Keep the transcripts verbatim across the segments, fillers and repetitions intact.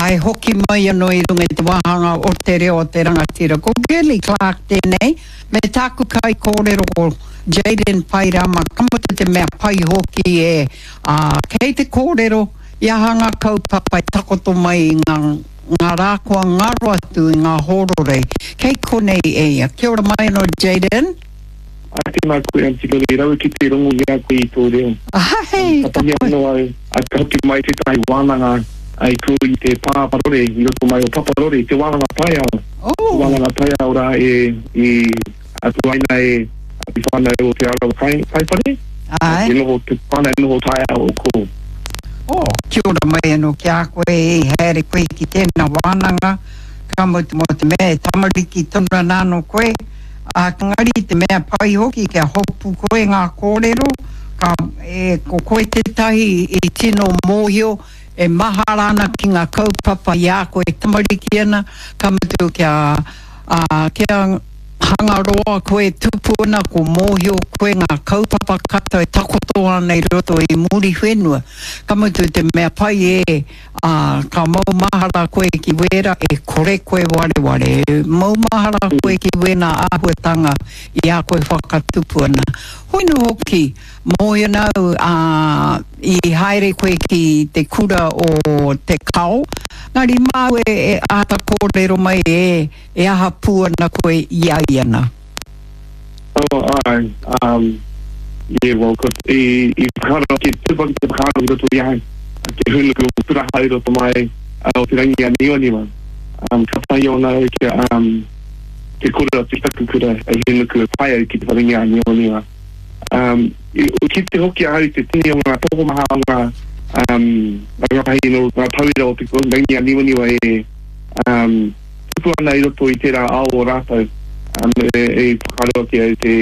Ai hoki mai anō i runga i te wāhanga o te reo o te rangatira. Ko Girlie Clark tēnei, me tāku kaikōrero ko Jayden Pairama, ka mutu te mea pai hoki e, ā, kei te kōrero i aha ngā kaupapa e takoto mai i ngā, ngā rā kua ngaro atu i ngā hōrorei. Kei konei e ia. Kia ora mai anō Jayden. Ā, tēnā koe Aunty Lily, rawe ki te rongo i a koe i tō reo. Ahei, ka Katahi pai. anō au, ā, ka hoki mai tētahi wānanga i kō i te pā parore, i roto mai o Paparore, te wānanga taiao, te Oh! wānanga taiao rā e, i tuaina e te whānau o Te Arawa Kai, Kaiwhare, Āe. te noho, te whānau noho taiao o kō. Oh, kia ora mai anō ki a koe, i haere koe ki tēnā wānanga, ka mutu mō te mea e tamariki tonu ana anō koe, ā, engari te mea pai hoki kia hopu koe ngā kōrero, ka, e, ko koe tētahi i tino mōhio, e mahara ana ki ngā kaupapa i a koe e tamariki ana, ka mutu kia, ā, kia Hangaroa koe tupu ana ko mōhio koe ngā kaupapa katoa e takoto ana i roto i Muriwhenua. Ka mutu te mea pai e, ā, ka maumahara koe ki wērā e kore koe wareware. E maumahara koe ki wēnā āhuatanga i a koe whakatupu ana. Hoi nō hoki, mōhio ana au, ā, i haere koe ki te kura o Te Kao, engari māu e, e āta kōrero mai e, E aha pū ana koe i a ia na? Oh, āe, um, yeah, well, ko, i, i whakaaro ake, tupu ake te whakaaro i roto i ahau, te hūnuku o Puraha i roto mai o Te Rangi-a-Niwaniwa. Um, ka taea ona au kia, um, te kōrero atu ki taku kura e hūnuku e pai au ki Te Rangi-a-Niwaniwa. Um, i, i kite hoki ahau i te tini o ngā tokomaha o ngā, um, rangatahi nō ngā tauira o Te Rangi-a-Niwaniwa e, um, tupu ana i roto i tērā ao o rātou, me i whakaaro ake au te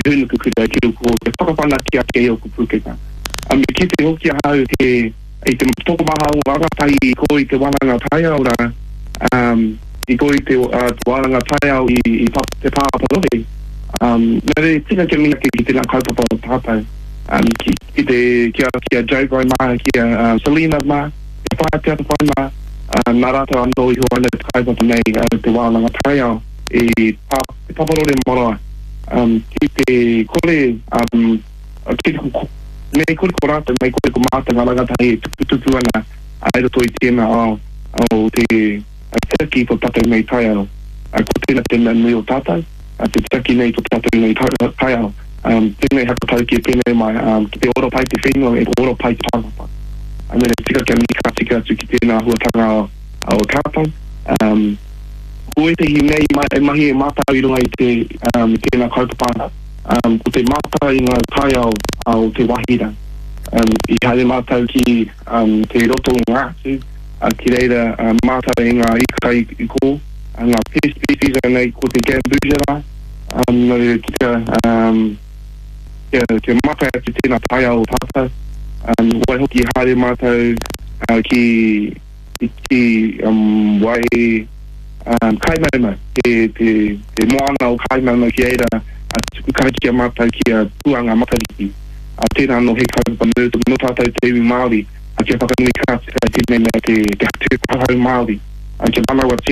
hūnuku kura ki ōku te whakawhanake ake i ōku pūkenga. Me kite hoki ahau he, i te tokomaha o ngā rangatahi i kō i te wānanga taiao rā, i kō i te wānanga taiao i te pā parore. Nā reira, tika kia mihi ake ki tēnā kaupapa o tātou, ki te, ki a, ki a Joe Bro mā, ki a Selina mā, Te Whai Te Atawhai mā, nā rātou anō i huaina te kaupapa nei, te wānanga taiao i Te Paparore marae, ki te kore, ki te, mei kore ko rātou, mei kore ko mātou ngā rangatahi e tuputupu ana i roto i tēnā ao o te tiaki i tō tātou nei taiao. Ko tēnā te mea nui o tātou, te tiaki nei i tō tātou nei taiao. Tēnei hakatauki e pēnei mai, ki te ora pai te whenua, e ora pai te tangata. Mena tika kia mihi ka tika atu ki tēnā āhuatanga o tātou. Ko ētehi mea i mahi e mātou i runga i te, i tēnā kaupapa, ko te mātai i ngā taiao o te wāhi rā. I haere mātou ki te roto o Ngāti, ki reira mātai i ngā ika i kō, ngā pest species anei ko te gambusia rā. Nō reira, kia, kia, kia mātai atu tēnā taiao o tātou. Waihoki i haere mātou ki, ki wai Kaimaumau, te, te, te moana o Kaimaumau ki reira tuku karakia mātou ki a Puanga Matariki. Tērā anō he kaupapa nui nō tātou te iwi Māori kia whakanui ka tika i tēnei mea te, te, te hau Māori, kia manawatia